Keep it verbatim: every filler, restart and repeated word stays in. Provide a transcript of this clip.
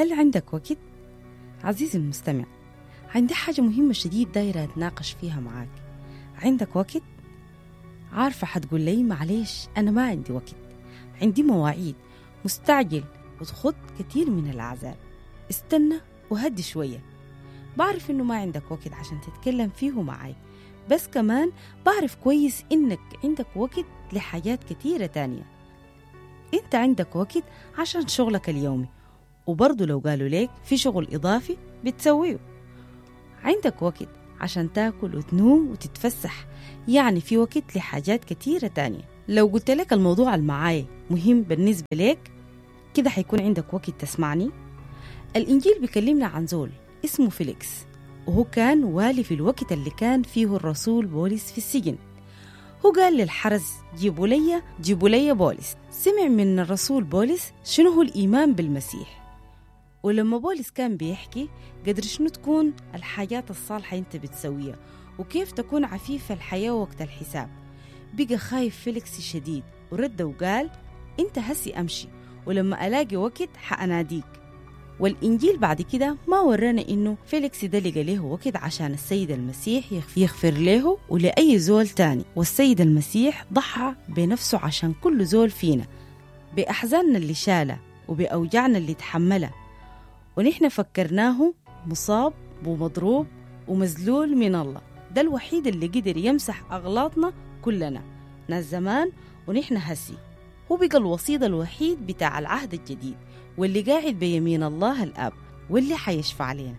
هل عندك وقت؟ عزيزي المستمع، عندي حاجة مهمة شديد دايرة أتناقش فيها معاك. عندك وقت؟ عارفة حتقول لي معليش أنا ما عندي وقت، عندي مواعيد، مستعجل، وتخط كثير من الأعذار. استنى وهدي شوية. بعرف إنه ما عندك وقت عشان تتكلم فيه معاي، بس كمان بعرف كويس إنك عندك وقت لحاجات كثيرة تانية. أنت عندك وقت عشان شغلك اليومي، وبرضو لو قالوا ليك في شغل إضافي بتسويه. عندك وقت عشان تاكل وتنوم وتتفسح، يعني في وقت لحاجات كثيرة تانية. لو قلت لك الموضوع المعاي مهم بالنسبة لك كده حيكون عندك وقت تسمعني. الإنجيل بيكلمنا عن زول اسمه فيليكس، وهو كان والي في الوقت اللي كان فيه الرسول بولس في السجن. هو قال للحرس جيبوا لي جيبوا لي بولس. سمع من الرسول بولس شنو هو الإيمان بالمسيح، ولما بولس كان بيحكي قدر شنو تكون الحاجات الصالحة انت بتسويها وكيف تكون عفيفة الحياة وقت الحساب، بقى خايف فيليكس شديد ورد وقال انت هسي امشي، ولما الاقي وقت حأناديك. والإنجيل بعد كده ما ورانا إنه فيليكس ده لقى له وقت عشان السيد المسيح يغفر له ولأي زول تاني، والسيد المسيح ضحى بنفسه عشان كل زول فينا، بأحزاننا اللي شالها وبأوجعنا اللي تحملها، ونحن فكرناه مصاب ومضروب ومذلول من الله. ده الوحيد اللي قدر يمسح أغلاطنا كلنا، ناس زمان ونحن هسي. هو بقى الوسيط الوحيد بتاع العهد الجديد، واللي قاعد بيمين الله الآب، واللي حيشفع علينا.